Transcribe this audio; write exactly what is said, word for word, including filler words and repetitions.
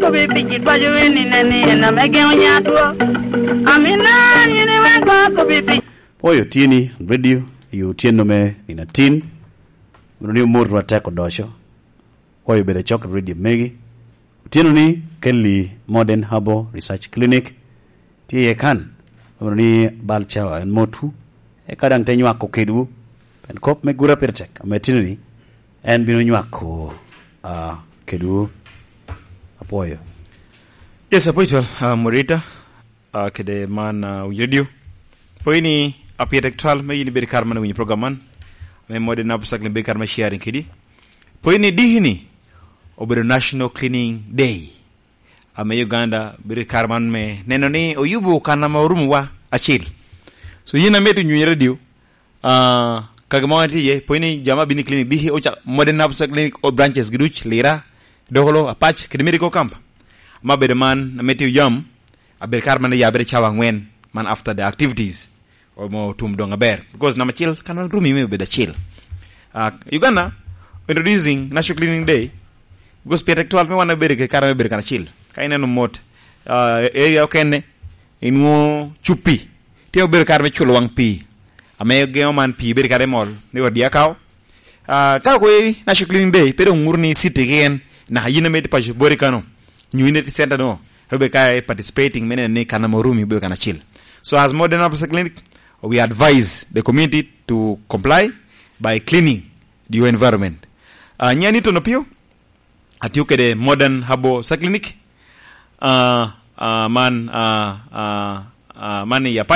Obi piki dwaco en i neni en ame geŋo nyatwo. Amina nyini wen kok obi piki. Pwoyo tye ni radio i otyeno me nino atin. Meno ni omotwa tek odoco. Pwoyo bedo acok i radio megi. Otyeno ni Kelly Modern Herbal Research Clinic tye iye kan. Meno ni bal cawa en motwu. Eka daŋ te nywako kedwu. Pien kop me gura pire tek. Ame tino ni en bino nywako, ah, kedwu. Apwoyo. Yes, apwoyo col, ah, Morita, ah, kede man, ah, winyo radio. Pwoyo ni apyete twal me yin ibedo kar man winyo program man. Ame mode na pusak ni bedo kar me sharing kedi. Pwoyo ni diki ni obedo National Cleaning Day. Ame Uganda bedo kar man me neno ni oyubo kan ame orumo wa acil. So yin ame tu nyunyi radio, ah, kage mo tye iye, pwony ni jama bini clinic, diki oca modern herbs clinic, o branches giduc, Lira, Dokolo, Apac, kede medical camp. Ma bedo man, ame tye oyam, abedo kar man ya bedo cawa angwen, man after the activities. Omo tum doŋ aber. Because namba acel, kan wan rumi me bedo acel. Ah, Uganda, introducing National Cleaning Day, because pien tek twal me wan bedo ke kare me bedo kan acel. Ka ineno mot, ah, area okene, inwo cupi. Tye obedo kare me culo wang pi. Ame geo man pi bedo kare mol, ni odi akao. Ah, ka kwe National Cleaning Day, pe doŋ ŋuto ni city keken, naka yin ame tye paco boti kano, nyo yin iti center no, robe ka i participating, mene ni kan ame orumi bedo kan acil. So as modern officer clinic, we advise the community to comply by cleaning your environment. Ah, nya ni tono pio, atio kede modern herbal clinic, ah, ah, man, ah, ah, ah, man i Apac,